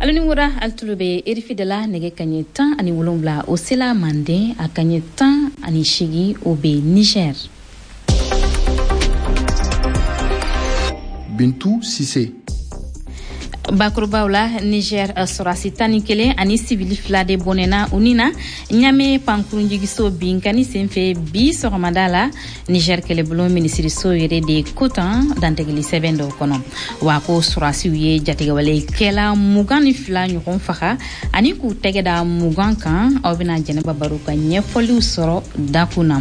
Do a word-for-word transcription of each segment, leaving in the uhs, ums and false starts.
Alu ni wura, alu tulo bɛ R F I de la. Nɛgɛ kaɲɛ tan ani wolonwula o sela Manden, a kaɲɛ tan ani seegin o bɛ Niger. Bintu Sise. Bakurubaw la, Niger sɔrɔdasi tan ni kelen ani sivili fila de bɔnɛna u ni na Ɲame pankurunjigiso binkani senfɛ bi sɔgɔmada la. Niger kɛlɛbolo minisiriso yɛrɛ de ko tan dantigɛli sɛbɛn dɔw kɔnɔ wa ko sɔrɔdasiw ye jatigɛwalekɛla mugan ni fila ɲɔgɔn faga ani k'u tɛgɛ da mugan kan. Aw bɛna Jɛnɛba Baro ka ɲɛfɔliw sɔrɔ dakun na.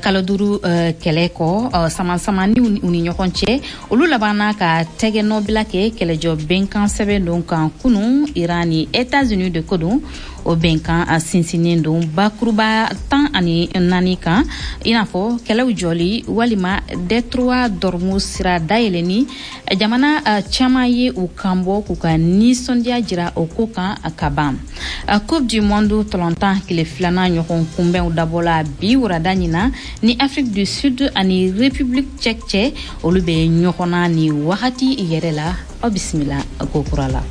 Kalo duuru kɛlɛ kɔ, samasamaniw u ni ɲɔgɔn cɛ, olu labanna ka tɛgɛ nɔbila kɛ kɛlɛjɔ bɛnkan sɛbɛn don kan kunu Iran ni États-Unis de ko don. O bɛnkan sinsinnen don bakuruba tan ani naani kan, i n'a fɔ kɛlɛw jɔli walima détroit d'Ormuz sira dayɛlɛni. Jamana caman ye u kanbɔ k'u ka nisɔndiya jira o ko kan ka ban. Coupe du monde tɔlɔntan tile filanan ɲɔgɔn kunbɛnw dabɔla bi wurada ɲina ni Afrique du Sud ani République tchèque cɛ, olu bɛ ɲɔgɔn na ni wagati yɛrɛ la. Aw bisimila ko kura la.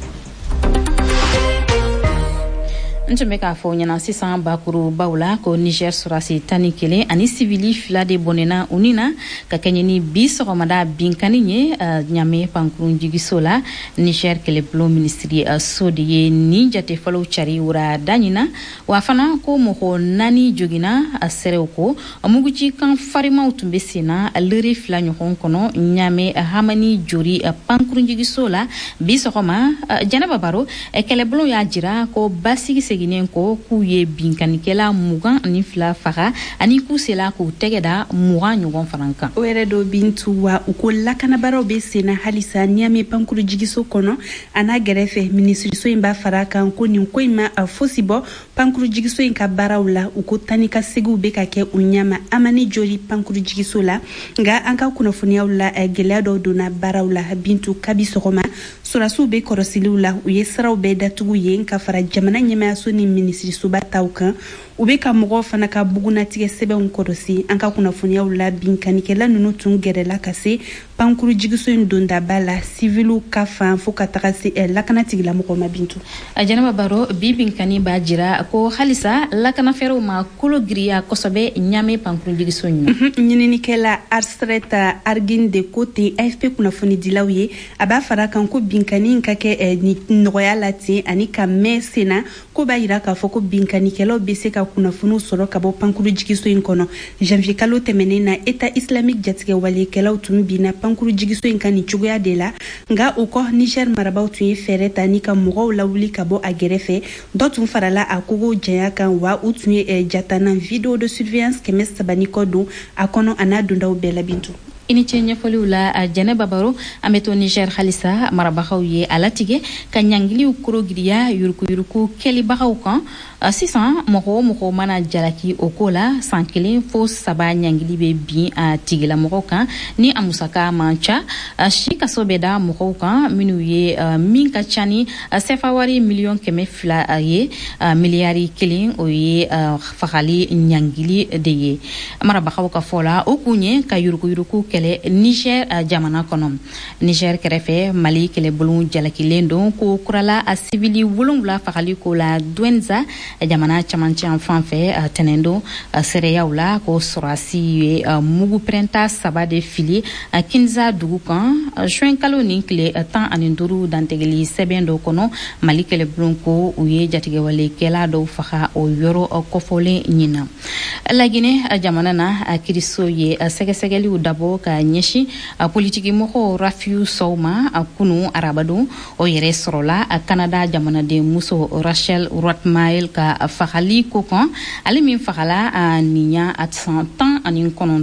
N tun bɛ k'a fɔ ɲɛna sisan bakurubaw la ko Niger sɔrɔdasi tan ni kelen ani sivili fila de bɔnɛna u ni na ka kɛɲɛ ni bi sɔgɔmada binkani ye Ɲame pankurunjigiso la. Niger kɛlɛbulon minisiri so de ye nin jate fɔlɔw cari wurada ɲina wa fana ko mɔgɔ naani joginna. A seerew ko mugucikan farimaw tun bɛ sen na lere fila ɲɔgɔn kɔnɔ Ɲame Hamani Jori pankurunjigiso la bi sɔgɔma. Jɛnɛba Baro, kɛlɛbulon y'a jira ko basigi seginnen ko k'u ye binkanikɛla mugan ani fila faga ani k'u sela k'u tɛgɛ da mugan ɲɔgɔn fana kan. O yɛrɛ dɔ, Bintu, wa u ko lakanabaraw bɛ senna halisa Ɲame pankurujigiso kɔnɔ a n'a gɛrɛfɛ. Minisiriso in b'a fara kan ko nin ko in ma a fosi bɔ pankurujigiso in ka baaraw la. U ko tani ka segiw bɛ ka kɛ u ɲama Amani Jori pankurujigiso la. Nka an ka kunnafoniyaw la, gɛlɛya dɔw donna baaraw la, Bintu. Kabi sɔgɔma, sɔrɔdasiw bɛ kɔrɔsiliw la. U ye siraw bɛɛ datugu yen ka fara jamana ɲɛmayaso ni minisirisoba taw kan. U bɛ ka mɔgɔw fana ka bugunatigɛ sɛbɛnw kɔlɔsi. An ka kunnafoniyaw la, binkanikɛla ninnu tun gɛrɛla ka se pankurujigiso in dondaba la, siviliw ka fan fo ka taga se lakana tigilamɔgɔw ma, Bintu. Jɛnɛba Baro, bi binkani b'a jira ko halisa lakanafɛɛrɛw ma kolo giriya kosɛbɛ Ɲame pankurunjigiso in na. Ɲininikɛla Arsret Argin de ko ten A F P kunnafonidilaw ye. A b'a fara kan ko binkani in ka kɛ ni nɔgɔya la ten ani ka mɛn sen na, ko b'a yira k'a fɔ ko binkanikɛlaw bɛ se ka kunnafoniw sɔrɔ ka bɔ pankurujigiso in kɔnɔ. Janvier kalo tɛmɛnen na, État islamique jatigɛwalekɛlaw tun binna pankurujigiso in kan nin cogoya de la. Nka o kɔ, Niger marabaw tun ye fɛɛrɛ ta ni ka mɔgɔw lawuli ka bɔ a gɛrɛfɛ. Dɔ tun farala a kogo janya kan, wa u tun ye jatana vidéo de surveillance kɛmɛ saba ni kɔ don a kɔnɔ a n'a dondaw bɛɛ la, Bintu. I ni ce ɲɛfɔliw la, Jɛnɛba Baro. An bɛ to Niger halisa. Marabagaw ye a latigɛ ka ɲangiliw korogiriya yurukuyuruku kɛlibagaw kan. Sisan, mɔgɔ o mɔgɔ mana jalaki o ko la, san kelen fo saba ɲangili bɛ bin a tigilamɔgɔw kan ni a musaka man ca. Si kaso bɛ da mɔgɔw kan minnu ye min ka ca ni sefa wari miliyɔn kɛmɛ fila ye, miliyari kelen. O ye fagali ɲangili de ye. Marabagaw ka fɔ la, o kun ye ka yurukuyuruku kɛlɛ Niger jamana kɔnɔ. Niger kɛrɛfɛ, Mali kɛlɛbolo jalakilen don ko kurala a sivili wolonwula fagali ko la Douentza jamana camancɛ fan fɛ tɛnɛn don. Seereyaw la ko sɔrɔdasi ye mugu pɛrɛnta saba de fili Kinza dugu kan juin kalo nin tile tan ani duuru. Dantigɛli sɛbɛn dɔ kɔnɔ, Mali kɛlɛbulon ko u ye jatigɛwalekɛla dɔw faga o yɔrɔ kɔfɔlen ɲin na. Laginɛ jamana na, kiriso ye sɛgɛsɛgɛliw dabɔ ka ɲɛsin politikimɔgɔw Rafiu Sow ma kunu arabadon. O yɛrɛ sɔrɔla Kanada jamanaden muso Rachel Rothmael ka fagali ko kan, ale min fagala nin ya san tan ani kɔnɔntɔn.